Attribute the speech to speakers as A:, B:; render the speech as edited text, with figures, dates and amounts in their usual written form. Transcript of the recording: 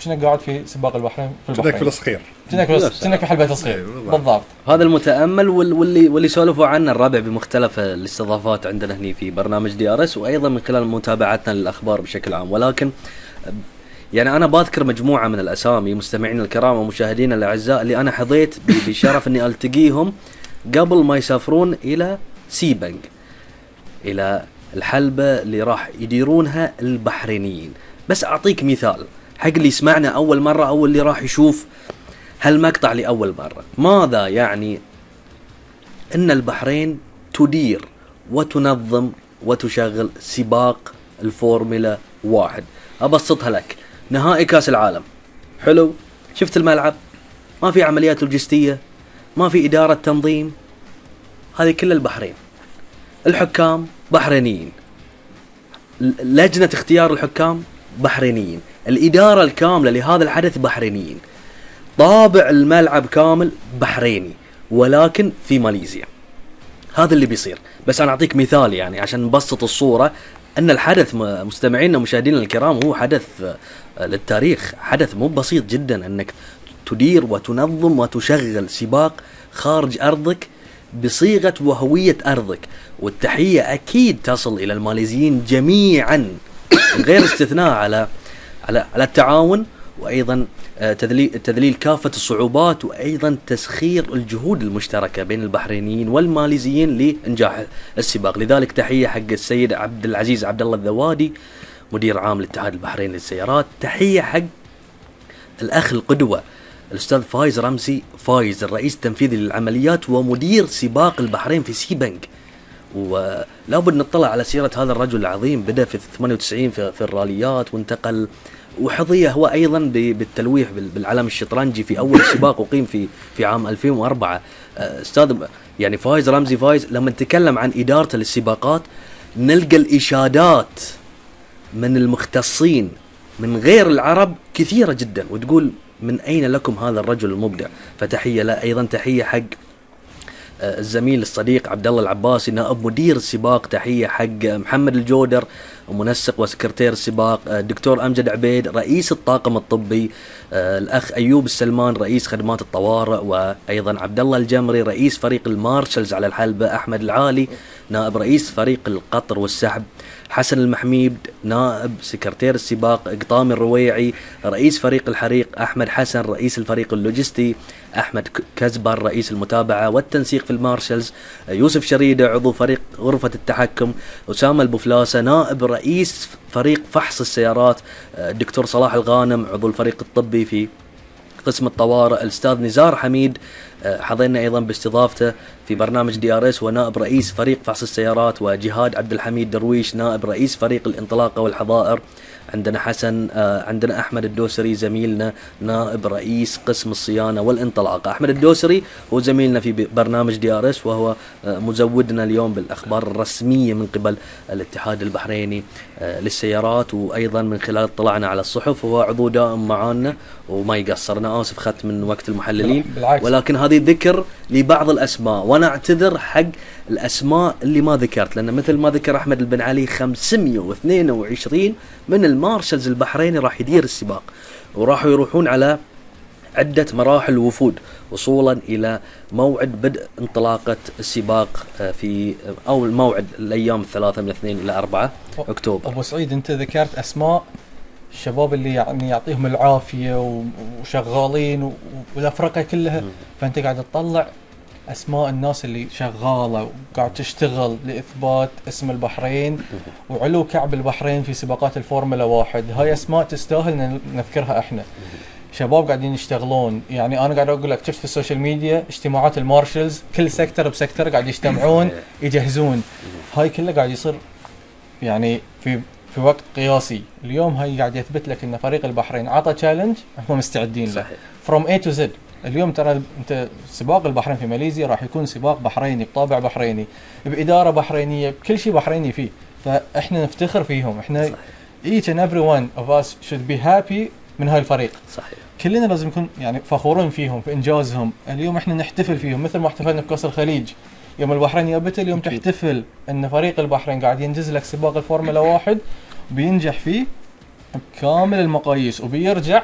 A: كأنك قاعد في سباق البحرين في
B: البحرين، كأنك في الصخير،
A: كأنك في حلبة الصغير بالضبط.
C: هذا المتأمل واللي سولفوا عنه الربع بمختلف الاستضافات عندنا هني في برنامج دي ار اس، وأيضا من خلال متابعتنا للأخبار بشكل عام. ولكن يعني أنا بذكر مجموعة من الأسامي مستمعين الكرام ومشاهدين الأعزاء اللي أنا حظيت بشرف أني ألتقيهم قبل ما يسافرون إلى سيبنج، إلى الحلبة اللي راح يديرونها البحرينيين. بس أعطيك مثال حق اللي يسمعنا أول مرة أو اللي راح يشوف هالمقطع لأول مرة. ماذا يعني أن البحرين تدير وتنظم وتشغل سباق الفورمولا 1؟ أبسطها لك، نهائي كاس العالم، حلو، شفت الملعب، ما في عمليات لوجستية، ما في إدارة تنظيم، هذه كل البحرين. الحكام بحرينيين، لجنة اختيار الحكام بحرينيين، الإدارة الكاملة لهذا الحدث بحرينيين، طابع الملعب كامل بحريني، ولكن في ماليزيا. هذا اللي بيصير. بس أنا أعطيك مثال يعني عشان نبسط الصورة، أن الحدث مستمعينا ومشاهدينا الكرام هو حدث للتاريخ، حدث مو بسيط جدا أنك تدير وتنظم وتشغل سباق خارج أرضك بصيغة وهوية أرضك. والتحية أكيد تصل إلى الماليزيين جميعا غير استثناء على التعاون، وأيضا تذليل كافة الصعوبات، وأيضا تسخير الجهود المشتركة بين البحرينيين والماليزيين لإنجاح السباق. لذلك تحية حق السيد عبد العزيز عبد الله الذوادي مدير عام الاتحاد البحريني للسيارات. تحية حق الأخ القدوة الأستاذ فايز رمزي فايز، الرئيس التنفيذي للعمليات ومدير سباق البحرين في سيبنج. ولابد نطلع على سيرة هذا الرجل العظيم، بدأ في 98 في الراليات، وانتقل وحظي هو أيضا بالتلويح بالعلم الشطرنجي في أول سباق أقيم في عام 2004. أستاذ يعني فايز رمزي فايز لما نتكلم عن إدارته للسباقات نلقى الإشادات من المختصين من غير العرب كثيرة جدا، وتقول من أين لكم هذا الرجل المبدع. فتحية لا، أيضا تحية حق الزميل الصديق عبد الله العباسي نائب مدير السباق. تحية حق محمد الجودر منسق وسكرتير السباق، الدكتور أمجد عبيد رئيس الطاقم الطبي، الأخ أيوب السلمان رئيس خدمات الطوارئ، وأيضا عبد الله الجمري رئيس فريق المارشلز على الحلبة، أحمد العالي نائب رئيس فريق القطر والسحب، حسن المحميد نائب سكرتير السباق، قطام الرويعي رئيس فريق الحريق، أحمد حسن رئيس الفريق اللوجستي، أحمد كزبر رئيس المتابعة والتنسيق في المارشلز، يوسف شريدة عضو فريق غرفة التحكم، أسامة البفلاسة نائب رئيس فريق فحص السيارات، الدكتور صلاح الغانم عضو الفريق الطبي في قسم الطوارئ، الأستاذ نزار حميد حظينا أيضا باستضافته في برنامج دي ار اس ونائب رئيس فريق فحص السيارات، وجهاد عبد الحميد درويش نائب رئيس فريق الانطلاقة والحظائر، عندنا حسن عندنا أحمد الدوسري زميلنا نائب رئيس قسم الصيانة والانطلاقة. أحمد الدوسري هو زميلنا في برنامج دي ار اس، وهو مزودنا اليوم بالأخبار الرسمية من قبل الاتحاد البحريني للسيارات، وأيضا من خلال اطلاعنا على الصحف هو عضو دائم معانا وما يقصر. أنا آسف خدت من وقت المحللين، ولكن هذه ذكر لبعض الأسماء، وأنا أعتذر حق الأسماء اللي ما ذكرت، لأن مثل ما ذكر أحمد البن علي 522 من المارشلز البحريني راح يدير السباق، وراح يروحون على عدة مراحل وفود وصولا إلى موعد بدء انطلاقة السباق في أو الموعد الأيام 3 من 2 إلى 4 أكتوبر.
A: أبو سعيد أنت ذكرت أسماء الشباب اللي يعني يعطيهم العافية وشغالين والأفرقة كلها، فأنت قاعد تطلع أسماء الناس اللي شغالة وقاعد تشتغل لإثبات اسم البحرين وعلو كعب البحرين في سباقات الفورمولا 1. هاي أسماء تستاهل نذكرها إحنا. شباب قاعدين يشتغلون، يعني أنا قاعد أقول لك شفت في السوشيال ميديا اجتماعات المارشلز كل سيكتر بسيكتر قاعد يجتمعون يجهزون، هاي كله قاعد يصير يعني في وقت قياسي. اليوم هاي قاعد يثبت لك إن فريق البحرين عطى تشالنج هم مستعدين له from A to Z. اليوم ترى انت سباق البحرين في ماليزيا راح يكون سباق بحريني بطابع بحريني بإدارة بحرينية بكل شيء بحريني فيه، فاحنا نفتخر فيهم. احنا صحيح. each and every one of us should be happy من هاي الفريق.
C: صحيح.
A: كلنا لازم نكون يعني فخورين فيهم في انجازهم. اليوم احنا نحتفل فيهم مثل ما احتفلنا بكأس الخليج يوم البحرين يابت. اليوم تحتفل ان فريق البحرين قاعد ينجز لك سباق الفورمولا 1 بينجح فيه بكامل المقاييس وبيرجع